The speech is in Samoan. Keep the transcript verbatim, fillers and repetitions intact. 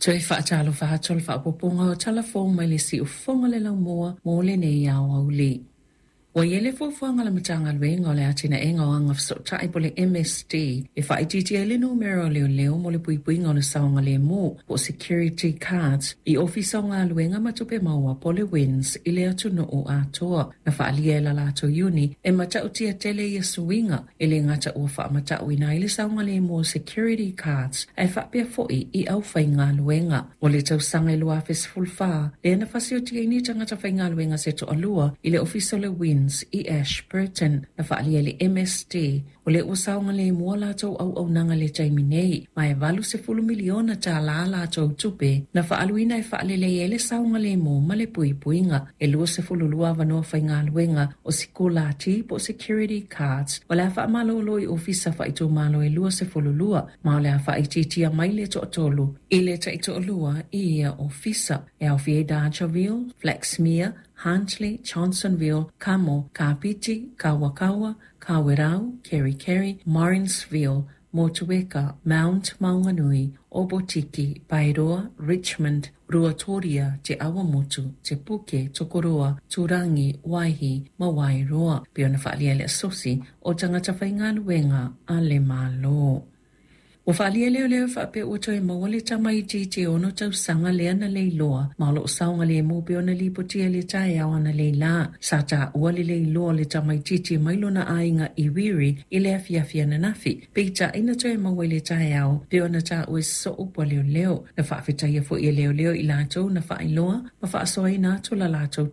Toe faatalofa atu le faaopoopoga o tala fou mai le siufofoga le laumua mo lenei aoauli. Ua i ai le fuafuaga a le Matagaluega o le Atinaega o Agafesootai po o le M S D e faaitiitia ai le numera o leoleo mo le puipuiga o le saogalemu po o security guards i ofisa o galuega ma tupe maua po o le W I N S i le atunuu atoa. Na faaalia e la latou iuni e matautia tele ia suiga e le gata ua faamatauina ai le saogalemu o security guards ae faapea foi i aufaigaluega. O le tausaga e lua afe sefulufa, lea na fasiotiaina tagata faigaluega se toalua i le ofisa o le W I N S i Ashburton. Na faaalia e le M S D o le ua saogalemu a latou auaunaga le taimi nei, ma e valu sefulu miliona tālā latou tupe na faaluina e faalelei ai le saogalemu ma le puipuiga. E lua sefulu lua avanoa faigaluega o sikulati po o security guards o le a faamalolo i ofisa faaitumalo e lua sefulu lua, ma o le a faaitiitia mai le toatolu i le taitoalua i ia ofisa. E aofia ai Dargaville, Flaxmere, Huntly, Johnsonville, Kamo, Kapiti, Kawakawa, Kawerau, Kerikeri, Morrinsville, Motueka, Mount Maunganui, Opotiki, Paeroa, Richmond, Ruatoria, Te Awamutu, Te Puke, Tokoroa, Turangi, Waihi, ma Wairoa. Pei ona faaalia le asosi o tagata faigaluega a le Malo. Ua faalia leo leo faapea ua toe maua le tamaitiiti ono tausaga lea na leiloa, ma o loo saogalemu pe ona lipotia le taeao ana leila. Sa taua le leiloa le tamaitiiti mai lona aiga i Wiri i le afiafi ananafi. Peitai na toe maua i le taeao pe ona taua e soo pua leoleo. Na faafetaia foi e leoleo i latou na faailoa ma faasoaina atu la latou